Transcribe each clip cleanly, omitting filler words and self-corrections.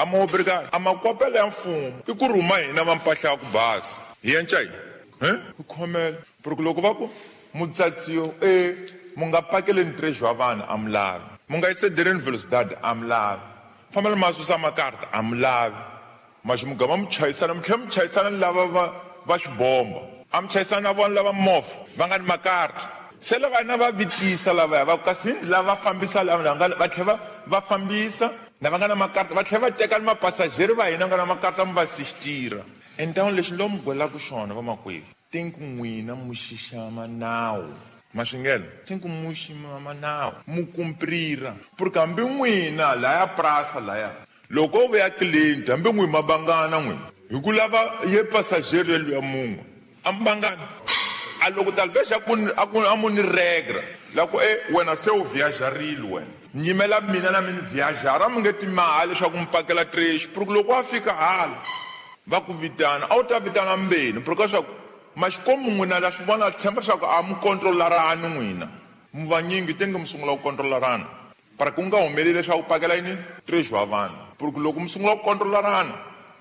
A ma obrigado. A makwapela ya mfumo i ku rhuma hina va mpahla ya ku basa. Hi yenca yini? He? Ku khomela. Porque loko va ku mutsatsiyo e mu nga pakeleni treasure wa vanhu a mi lavi. Mu nga excedereni velocidade a mi lavi. Fambela ma susa makarta a mi lavi. Maxi mugama mi chayisana mi tlhela mi chayisana ni lava va va xibomba. A mi chayisana na vona lava movha va nga ni makarta. Se lava na va vitisa lavaya va ku kasi lava fambisa lava nga va tlhela va fambisa lava nga na makarta va tlhela va teka ni mapasajeri va hina nga na makarta mi va sistira. Entawuni lexi ni lo mi gwelaka xona vamakwerhu tinku n'wina mu xixama nawu ma swi ngela tinku mu xixama nawu mu kumprira porque hambi n'wina laya prasa laya loko o vuya client hambi n'wi ma vangana n'wina hi ku lava ye passager yelwiya mun'we a mi vangana a loko talvez a ku a ku a mu ni regra la ku e wena se u viajarile wena nyimela mina na mi ni viajara a mi nge timali leswaku mi pakela trecho porque loko wa fika hala va ku vitana a wu ta vitana mbeni porque swa ku maxikombu n'wina la swi vona tshemba swa ku a mi kontrolarani n'wina mi vanyingi te nge mi sungula ku kontrolarana para ku nga humeleli leswaku pakela yini treasure wa vanhu porque loko mi sungula ku kontrolarana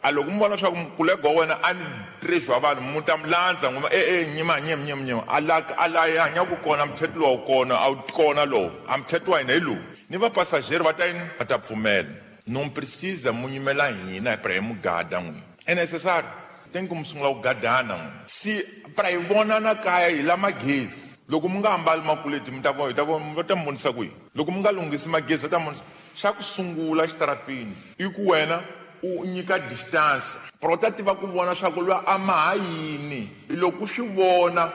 a loko mi vona leswaku mukulega wa wena a ni treasure wa vanhu mu ta mi landza n'wi e e nyima nyima nyima nyima a la a la yi hanyaka kona muthetho lowu kona a wu kona lowu a muthetho wa hina hi lowu ni vapasajeri va ta yini va ta pfumela non precisa mu nyimela hina hi pra hi mugada n'wina é necessário tem ku mi sungula ku gadana n'wina si pra hi vonana kaya hi la magezi loko mi nga ambali makuleti mi ta vona hi ta vona va ta mi vonisa ku yini loko mi nga lunghisi magezi va ta mi vonisa xa ku sungula xitaratwini i ku wena u nyika distance pero u ta tiva ku vona swa ku lwa a ma ha yini loko u swi vona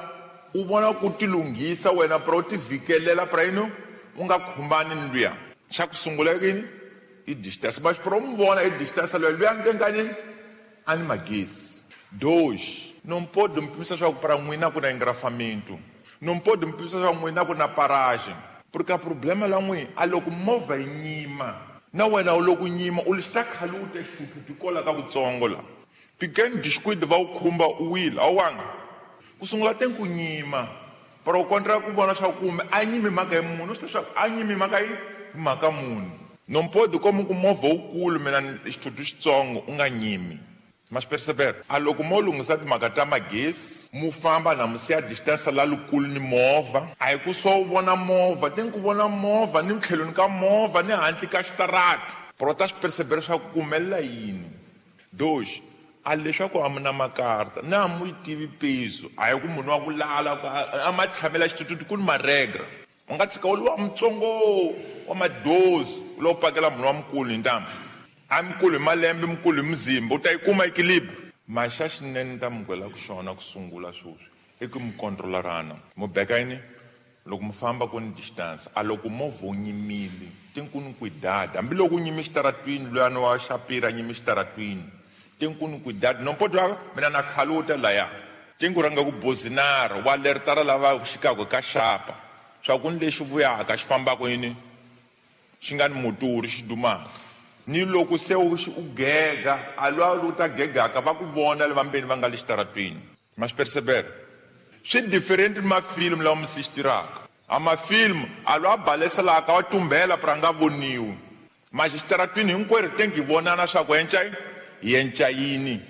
u vona ku ti lunghisa wena pero u ti vhikelela pra yini u nga khumbani ni luya xa ku sungula yini i distance mas pro mi vona i distance luya luya nkenkanyini a ni magezi dois não pode mi pimisa swa ku para n'wina ku na engrafamento não pode mi pimisa swa ku n'wina ku na paragem porque a problema la n'wina a loko movha yi nyima na wena u loko nyima u lexi ta khaluta xithuthuthu kola ka kutsongo la pequeno descuido va wu khumba u wile a wu wanga ku sungula te ku nyima pero u kontra ku vona swa ku kumbe a nyimi mhaka ya munhu swi swa a nyimi mhaka yi mhaka munhu não pode como ku movha wukulu mina xithuthuthu xitsongo u nga nyimi ma swi perceber a loko mo lunghisa timhaka ta magezi mu famba na mu siya distance la lukulu ni movha a hi ku so u vona movha te ni ku vona movha ni tlhelweni ka movha ni handle ka xitarati pero ta swi perceber swa ku humelela yini dox a leswaku a mi na makarta na mu yi tivi peso a hi ku munhu wa ku lala a ma tshamela xithuthuthu ku ni maregra u nga tshika u ri wa mutsongo wa madozi u lo pakela munhu wa mukulu hi ntambu a mukulu hi malembe mukulu hi muzimba u ta yi kuma equilibre maxa xinene ni ta mi gwela ku xona ku sungula sweswi i ku mi kontrolarana mu beka yini loko mi famba ku ni distance a loko movha wu nyimile tinkuni cuidado hambiloko u nyime xitaratwini luyani wa xapira nyime xitaratwini tinkuni cuidado nompoto wa mina na khaluta laya tinku rhanga ku bozinara wa lertara lava xikako ka xapa swa ku ni lexi vuyaka xi fambaka yini xi nga ni motori xi dumaka ni loko se u gega a lwa u ta gegaka va ku vona le vambeni va nga le xitaratwini ma swi perceber swi different ni mafilimu lawa mi sistiraka a mafilimu a lwa baleselaka wa tumbela pra nga voniwi maxi xitaratwini hinkwerhu te ngi vonana swa ku yenca yenca yini.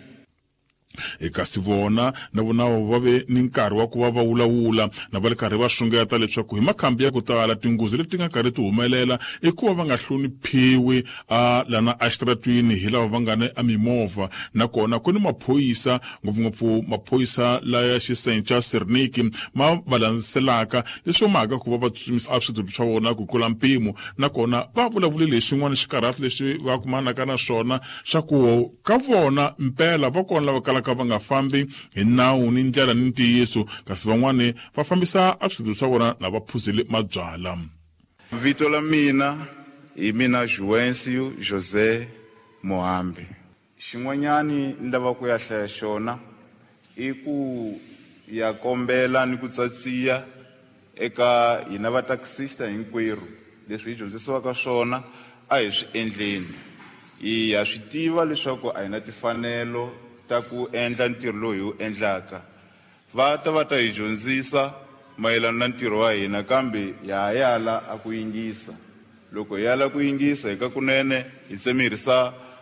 Kasi vona na vona va ve ni nkarhi wa ku va va vulavula na va ri karhi va xungeta leswaku hi makhambi ya ku tala tinghozi leti nga karhi ti humelela i ku va va nga hloniphiwi a lana exitaratwini hi lava va nga ni emimovha nakona ku ni maphorisa ngopfungopfu maphorisa laya xisenca sirniki ma va landzelaka leswi mhaka ku va va tsutsumisa a swithuthuthu swa vona ku tlula mpimo nakona va vulavulile hi xin'wana xikarhati lexi va kumanaka na xona xa ku ka vona mpela va kona lava kalaka va nga fambi hi nawu ni ndlela ni ntiyiso kasi van'wani va fambisa a swithuthuthu swa vona na va phuzile mabyala. Vito la mina hi mina Juvencio José Mohambi. Xin'wanyani ni lava ku ya hlaya xona i ku ya kombela ni ku tsatsiya eka hina va taxista hinkwerhu leswi hi dyondzisiwaka swona a hi swi endleni. Hi ha swi tiva leswaku a hi na timfanelo ta ku endla ntirho lowu hi wu endlaka. Va ta va ta hi dyondzisa mayelana na ntirho wa hina kambe ha ha yala a ku yingisa. Loko hi yala ku yingisa hi ka kunene hi tsemerisa